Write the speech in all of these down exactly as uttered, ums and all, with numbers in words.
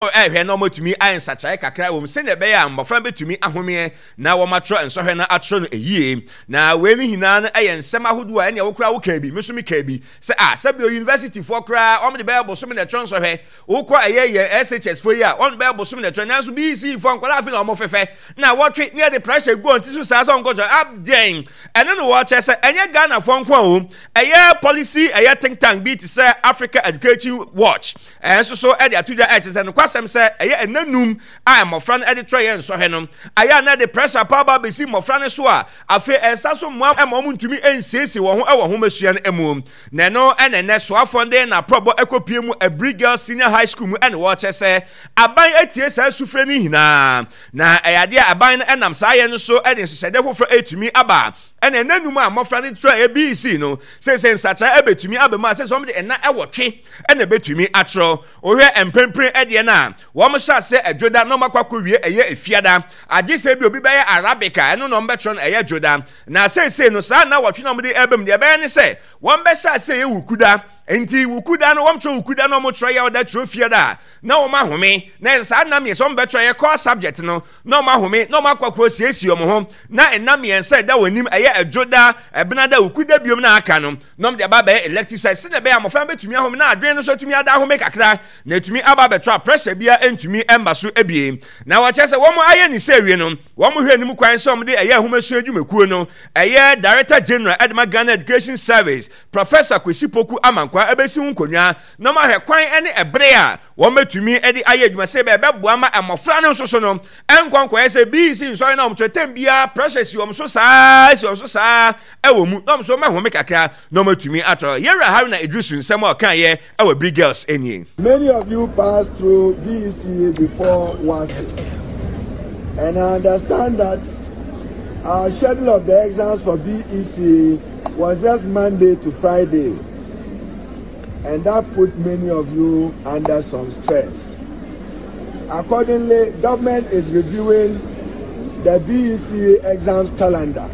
Ɛhwɛ na wɔatumi ayɛ nsakyeraeɛ kakra wɔ mu sɛdeɛ ɛbɛyɛ a mmɔfra bɛtumi ahomeɛ na wɔatwerɛ nsɔhwɛ no atwerɛ no ɛyie. Na wei no nyinaa no ɛyɛ nsɛm ahodoɔ a ɛneɛ wo koraa wokaa bi, me nso mekaa bi sɛ a sɛbio universityfoɔ koraa wɔn de bɛyɛ bosome na ɛtwerɛ nsɔhwɛ. Wokɔ ɛyɛ yɛn S H S foɔ yi a, wɔn de bɛyɛ bosome na ɛtwerɛ, nanso B E C E foɔ nkwadaa afe na wɔn fɛfɛ na wɔtwe ne yɛde pressure gu wɔn ti so saa sɛ wɔnkɔtwerɛ abdɛn. Ɛno no wɔkyerɛ sɛ ɛnyɛ Ghanafoɔ nko a o ɛyɛ policy ɛyɛ think tank bi te sɛ Africa Education Watch ɛnso so ɛde ato dwa, ɛkyerɛ sɛ nokwasɛm sɛ ɛyɛ ɛnanum a mmɔfra no ɛde twerɛ yɛ nsɔhwɛ no ayɛ a na ɛde pressure paa ba bɛsi mmɔfra no so a afei ɛnsa so mmoa ma wɔn ntumi nsiesie wɔn ho ɛwɔ ahomasua no mu. Na ɛno ɛna ɛnɛ soafoɔ de n'aprɔbɔ ɛkɔpie mu Aburi Girls Senior High School mu, ɛna wɔrekyɛ sɛ aban atie saa sufrɛ no nyinaa, na ɛyɛ adeɛ a aban no ɛnam saa yɛ no so ɛde nhyehyɛdeɛ foforɔ ɛtumi aba. Ɛna ɛnanum a mmɔfra no twerɛ B E C E no, sɛsɛ nsakyera ɛbɛtumi aba mu a sɛ sɛ wɔn de ɛna ɛwɔtwe ɛna ɛbɛtumi atwerɛ. Wohwɛ mprempren ɛdeɛ no a wɔn hyɛ ase ɛdwoda na wɔn akɔ akɔwie ɛyɛ efiada, agye sɛ bi obi bɛyɛ Arabic a ɛno na wɔn bɛtwerɛ no ɛyɛ dwoda. Na seesei no saa na wɔtwe na wɔn de ɛbɛm deɛ ɛbɛyɛ ne sɛ wɔn bɛhyɛ ase ɛyɛ Wukuda. Nti Wukuda no wɔn twerɛ Wukuda na wɔn twerɛ yɛ ɔda twerɛ fiada na wɔn ahome, na saa nna mmiɛnsa wɔn bɛtwerɛ yɛ core subject no na wɔn ahome na wɔn akɔ akɔ siesie wɔn ho, na nna mmiɛnsa ɛda wɔn anim, ɛyɛ ɛdwoda, ɛbenada, Wukuda biom na aka no, na wɔn de aba abɛyɛ elective side sɛdeɛ ɛbɛyɛ amɔfra bɛtumi ahome na adwene no nso atumi ada ahome kakra na etumi aba abɛtɔ a pressure bia ntumi mba so ebie. Na wɔkyerɛ sɛ wɔn ayɛ ne sɛ awie no, wɔn hwɛ anim kwan sɛ wɔn de ɛyɛ ahomasua adwumakuo no ɛyɛ Director General ɛde ma Ghana Education Service, Professor Kwesi Poku Amankwa, ɛbɛsi ho nkonnwa na wɔn ahwɛ kwan ne ɛbere a wɔn bɛtumi de ayɛ adwuma sɛ ɛbɛboa ma mmɔfra no nso so no ɛnkɔ nkɔyɛ sɛ B E C E nsɔre na wɔn kyerɛ tɛm biara pressure si wɔn so saa, si wɔn so saa ɛwɔ mu, na wɔn nso wɔn ahome kakra na wɔn atumi atɔ. Yɛwura Haruna Idrisu nsɛm a ɔka yɛ ɛwɔ Aburi Girls nie. Many of you passed through B E C E before WASSCE, and I understand that our schedule of the exams for B E C E was just Monday to Friday, and that put many of you under some stress. Accordingly, government is reviewing the B E C E exams calendar.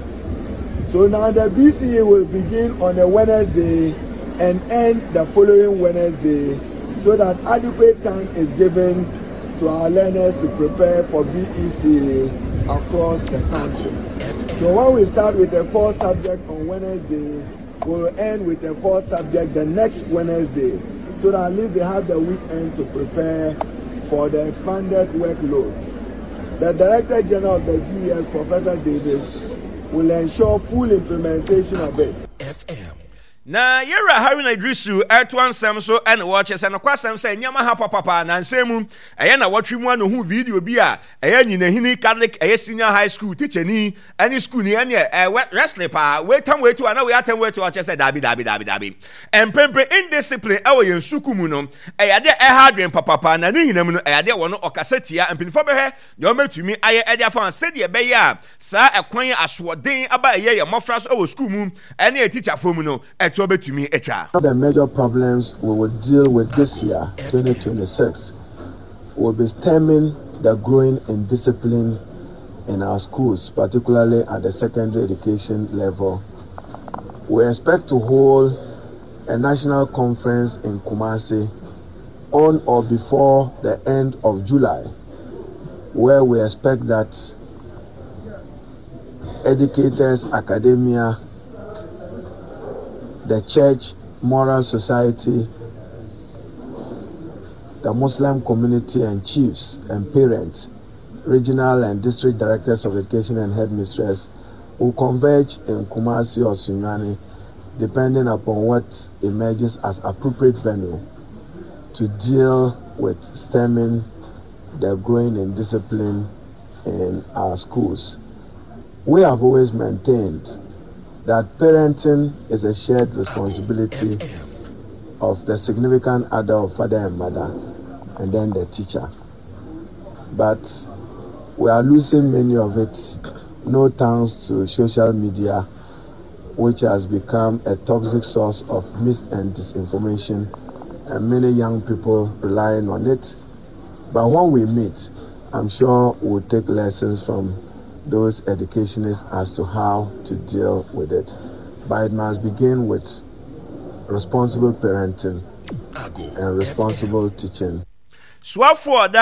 So now the B E C E will begin on a Wednesday and end the following Wednesday so that adequate time is given to our learners to prepare for B E C E across the country. So when we start with the core subject on Wednesday, we'll end with the core subject the next Wednesday, so that at least they have the weekend to prepare for the expanded workload. The Director General of the G E S, Professor Davis, will ensure full implementation of it. F M. Na yɛwura Haruna Idrisu ɛtoa nsɛm so, ɛna wɔkyɛ sɛ nokwasɛm sɛ nneɛma ha papapa na nsɛm mu ɛyɛ na wɔtwe mu ano hu video bi a ɛyɛ Nyinahini Catholic ɛyɛ Senior High School tikyani ɛne school ni ɛne ɛwɛ wrestling paa, weitam weitu ana wei atam weitu. Ɔkyɛ sɛ daabi, daabi, daabi, daabi, mprempren indiscipline ɛwɔ yɛn sukuu mu no ɛyɛ adeɛ ɛha adwene papapa, na ne nyinam no ɛyɛ adeɛ wɔ no ɔkasa tia. Mpanyinfoɔ bɛhwɛ deɛ wɔbɛtumi ayɛ ɛde afa sɛdeɛ ɛbɛyɛ a saa ɛkwan asoɔden aba ɛyɛ yɛn mmɔfra so ɛwɔ sukuu mu ɛne yɛ tikyafoɔ mu no ɛtoɔ bɛtumi atwa. The major problems we will deal with this year, twenty twenty-six, will be stemming the growing indiscipline in our schools, particularly at the secondary education level. We expect to hold a national conference in Kumasi on or before the end of July, where we expect that educators, academia, the church, moral society, the Muslim community and chiefs and parents, regional and district directors of education and headmistress will converge in Kumasi or Sunyani, depending upon what emerges as appropriate venue to deal with stemming the growing indiscipline in our schools. We have always maintained that parenting is a shared responsibility of the significant other of father and mother and then the teacher. But we are losing many of it, no thanks to social media, which has become a toxic source of mis and disinformation, and many young people relying on it. But when we meet, I'm sure we'll take lessons from those educationists as to how to deal with it. But it must begin with responsible parenting and responsible teaching. Soafoɔ ɔda